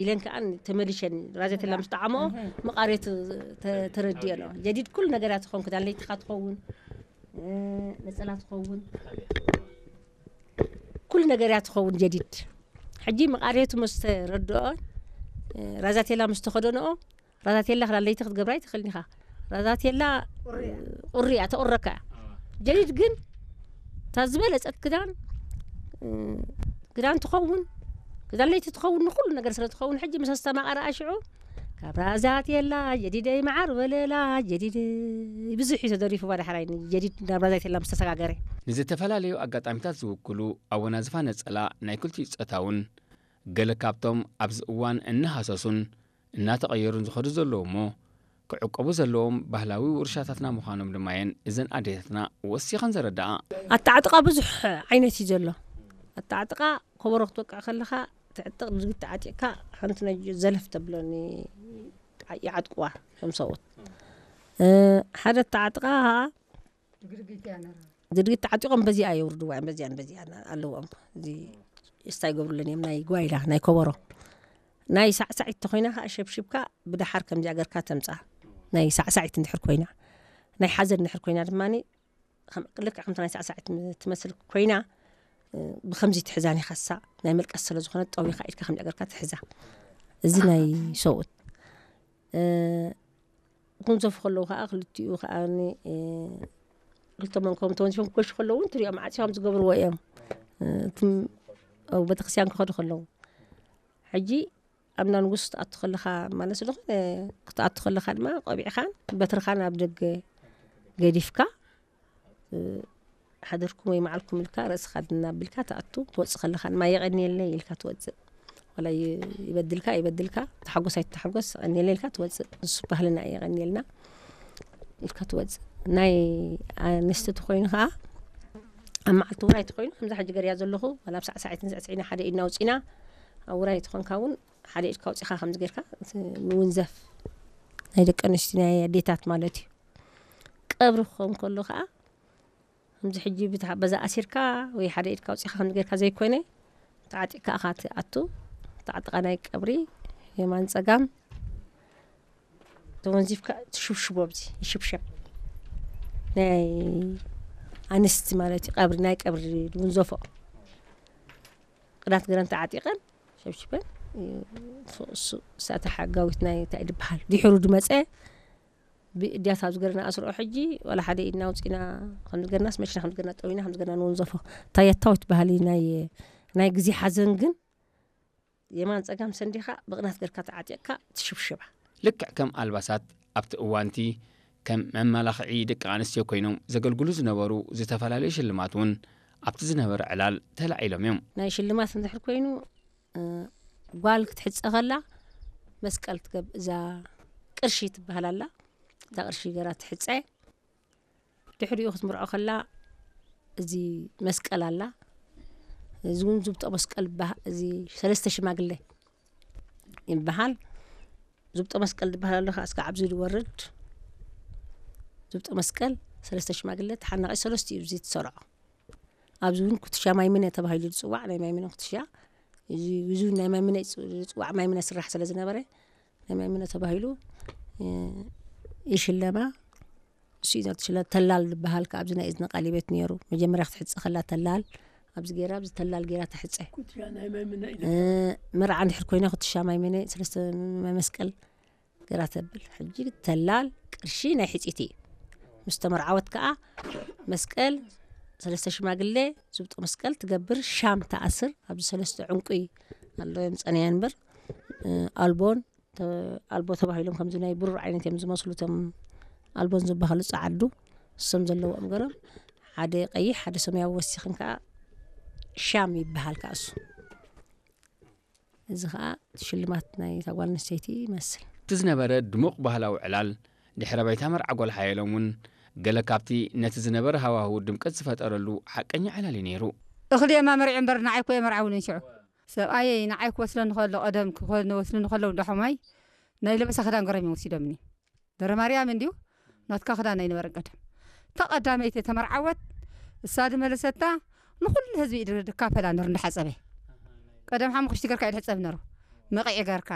ኢለን ከኣ ተመሊሸን ራዘቴላ ምስ ጠዓመኦ መቓርየቱ ተ- ተረዲኦ ኣለዋ። ጀዲድ ኩሉ ነገር እያ ትኸውን፣ ክዳን ለይትኻ ትኸውን፣ እ፣ ነጸላ ትኸውን፣ ኩሉ ነገር እያ ትኸውን ጀዲድ። ሕጂ መቓርየቱ ምስ ተረድኦ፣ እ፣ ራዛቴላ ምስ ተኸደንኦ፣ ራዛቴላ ክዳን ለይቲ ክትገብራ ኣይትኽእልን ኢኻ። ራዛቴላ ቁሪ እያ፣ ተቑረካ እያ። ጀዲድ ግን እታ ዝበለጸት ክዳን፣ እ፣ ክዳን ትኸውን፣ ክዳን ለይቲ ትኸውን፣ ንኹሉ ነገር ስለ ትኸውን፣ ሕጂ ምስ ኣስተማቐረ ኣሽዑ ካብ ራዛቴላ ጀዲደይ መዓር ወለላ ጀዲድ ብዙሕ እዩ ተደሪፉ። ባዳሕራይ ጀዲድ ናብ ራዛቴላ ምስ ተሰጋገረ። ንዝተፈላለዩ ኣጋጣሚታት ዝውክሉ ኣወናዝፋ ነጸላ ናይ ክልቲኡ ጾታ እውን ገለ ካብቶም ኣብዚ እዋን እናሃሰሱን እናተቐየሩን ዝኸዱ ዘለዉ እሞ፣ ክዕቀቡ ዘለዎም ባህላዊ ውርሻታትና ምዃኖም ድማ እየን እዘን ኣዴታትና ወሲኸን ዘረድኣ። ኣተዓጥቓ ብዙሕ ዓይነት እዩ ዘሎ። ኣተዓጥቓ ኮበሮ ክትወቅዕ ከለኻ ትዕጥቕ፣ ድርጊት ተዓጢቕካ ሓንቲ ናይ ዘለፍ ተብለኒ ይዓጥቅዋ እቶም ሰብኡት። እ፣ ሓደ ኣተዓጥቓ ድርጊት ተዓጢቖም በዚኣ የውርድዋ እዮም፣ በዚኣን በዚኣን ኣለዎም። እዚ እስታ ይገብሩለን እዮም፣ ናይ ጓይላ፣ ናይ ኮበሮ። ናይ ሳዕሳዒት ተኾይና ከዓ ሸብሽብካ ብደሓር ከምዚኣ ገርካ ተምፃ። ናይ ሳዕሳዒት እንድሕር ኮይና፣ ናይ ሓዘን እንድሕር ኮይና ድማ ልክዕ ከምቲ ናይ ሳዕሳዒት ትመስል ኮይና፣ እ፣ ብከምዚ ትሕዛን ኢኻ። እሳ ናይ መልቀስ ስለ ዝኾነ ጠዊኻ ኢድካ ከምዚኣ ገርካ ትሕዛ። እዚ ናይ ሰብኡት። እ፣ ክንዘፉ ከለዉ ከዓ ክልቲኡ ከዓ ን-፣ እ፣ ክልተ መንኮም ተወንዚፎም ክገሹ ከለዉ እውን ትሪኦም ዓፂ ከም ዝገብርዎ እዮም። እ፣ እትም-፣ ኣብ ቤተክርስትያን ክኸዱ ከለዉ። ሕጂ ኣብ እንዳ ንጉስ ክትኣቱ ከለኻ ማለት ዝኾነ ክትኣቱ ከለኻ ድማ ቆቢዕኻን በትርኻን ኣብ ደገ ገዲፍካ፣ እ፣ ሓደርኩም ወይ መዓልኩም ኢልካ ርእስኻ ድና ኣቢልካ ትኣቱ። ትወፅእ ከለኻ ድማ የቐንየለይ ኢልካ ትወፅእ። ዋላ ይ-፣ ይበድልካ ይበድልካ፣ ተሓጎስ ኣይትተሓጎስ፣ የቐንየለይ ኢልካ ትወፅእ። ንሱ ባህልና እዩ፣ የቐንየልና ኢልካ ትወፅእ። ናይ ኣንስቲ ተኾይኑ ከዓ ኣብ መዓልቲ ውራይ ተኾይኑ ከምዛ ሕጂ ገርያ ዘለኹ፣ ዋላ ኣብ ሳዕሳዒትን ስዕስዒና ሓደ ኢድና ኣውፂና፣ ኣብ ውራይ ተኾንካ እውን ሓደ ኢድካ ኣውፂኻ ከምዚ ጌርካ እቲ ምውንዘፍ ናይ ደቂ ኣንስትዮ ናይ ኣዴታት ማለት እዩ። ቀብሪ ክኸውን ከሎ ከዓ ከምዚ ሕጂ ብታ-፣ በዛ ኣሲርካ ወይ ሓደ ኢድካ ኣውፂኻ ከምዚ ጌርካ ዘይኮነ፣ ተዓጢቕካ ኢኻ ትኣቱ። ተዓጥቓ ናይ ቀብሪ የማን ጸጋም ተወንዚፍካ ትሽብሽቦ፣ ኣብዚ ይሽብሸብ። ናይ ኣንስቲ ማለት እዩ፣ ቀብሪ፣ ናይ ቀብሪ ዝውንዘፎ። ቅዳት ገረን ተዓጢቐን ሸብሽበን፣ እሱ፣ እሳ እታ ሓጋዊት ናይ እንታይ ድበሃል? ድሕሩ ድመጸ ብእድያት ኣብዚ ገርና ኣስርኦ። ሕጂ ዋላ ሓደ ኢድና ኣውጺና፣ ከምዚ ገርናስ መሽና፣ ከምዚ ገርና ጠዊና፣ ከምዚ ገርና ንወንዘፎ። ታየታዊት ባህሊ ናይ፣ ናይ ግዜ ሓዘን ግን የማን ጸጋም ሰንዲኻ ብቕናት ገርካ ተዓጢቕካ ትሽብሽባ። ልክዕ ከም ኣልባሳት ኣብቲ እዋንቲ ከም መመላኽዒ ደቂ ኣንስትዮ ኮይኖም ዘገልግሉ ዝነበሩ ዝተፈላለዩ ሽልማት እውን ኣብቲ ዝነበረ ዕላል ተላዒሎም እዮም። ናይ ሽልማት እንድሕር ኮይኑ፣ እ፣ ጓል ክትሕጸ ከላ መስቀል ትገብ-፣ እዛ ቅርሺ ትበሃል ኣላ። እታ ቅርሺ ገራ ትሕጸ። ድሕሪኡ ክትምርዖ ከላ እዚ መስቀል ኣላ። እዚ እውን ዝብጦ መስቀል ይበሃ-፣ እዚ ሰለስተ ሽማግለ ይበሃል። ዝብጦ መስቀል ዝበሃል ኣሎ፣ ከዓ እስካብ ኣብዚ ዝወርድ ዝብጦ መስቀል ሰለስተ ሽማግለ ተሓናቒ ሰለስቲኡ እዚ ትሰርዖ። ኣብዚ እውን ኩትሻ ማይምነ ተባሂሉ ዝፅዋዕ፣ ናይ ማይምነ ኩትሻ፣ እዚ፣ እዚ እውን ናይ ማይምነ ይፅ-፣ ዝፅዋዕ፣ ማይምነ ስራሕ ስለ ዝነበረ ናይ ማይምነ ተባሂሉ፣ እ፣ ይሽለማ። እሱ እዩ ዘትሽለ። ተላል ዝበሃል ከኣ ኣብዚ ናይ እዝኒ ቃሊቤት ነይሩ። መጀመርያ ክትሕጸ ከላ ተላል ኣብዚ ገይራ፣ ኣብዚ ተላል ገይራ ትሕጸ። ኩትሻ ናይ ማይምነ እዩ። እ፣ መርዓ እንድሕር ኮይና ኩትሻ ማይምነ፣ ሰለስተ ማይ መስቀል ገይራ ተብል። ሕጂ ተላል ቅርሺ ናይ ሕጺቲ እዩ። ምስ ተመርዓወት ከኣ መስቀል፣ ሰለስተ ሽማግለ፣ ዝብጦ መስቀል ትገብር፣ ሻም ትኣስር። ኣብዚ ሰለስተ ዕንቁ ኣሎ፣ የምጸነያ እምበር፣ እ፣ ኣልቦን ተ-፣ ኣልቦ ተባሂሎም ከምዚ ናይ ብሩር ዓይነት እዮም ዝመስሉ፣ እቶም ኣልቦን ዝበሃሉ ጸዓዱ፣ እሶም ዘለዎም ገሮም፣ ሓደ ቀይሕ፣ ሓደ ሰማያዊ ወሲኽን ከኣ ሻም ይበሃል ከኣ እሱ። እዚ ከኣ ሽልማት ናይ እታ ጓል ኣንስተይቲ ይመስል። እቲ ዝነበረ ድሙቕ ባህላዊ ዕላል፣ ድሕረ ባይታ መርዓ ጓል ሓየሎም እውን ገለ ካብቲ ነቲ ዝነበረ ሃዋህው ድምቀት ዝፈጠረሉ ሓቀኛ ዕላል እዩ ነይሩ። እኽሊ እየማ መርዒ እምበር ንዓይ እኮ እየ መርዓውኒ ሽዑ። ሰብኣየይ ንዓይ ክወስደኒ ከሎ፣ ቀደም ክወስድኒ ከለዉ፣ እንዳ ሖማይ ናይ ለበሳ ክዳን ገሮም እዮም ወሲዶምኒ። ደብረ ማርያም እንድዩ፣ ናትካ ክዳን ኣይነበረን ቀደም። እታ ቀዳመይቲ ተመርዓወት፣ እሳ ድመለሰታ፣ ንኹሉ ህዝቢ ኢድ ድካፈላ ነሩ እንዳሓጸበ። ቀደም ሓሙኽሽቲ ገርካ እዩ ድሕጸብ ነሩ። መቒዒ ገርካ።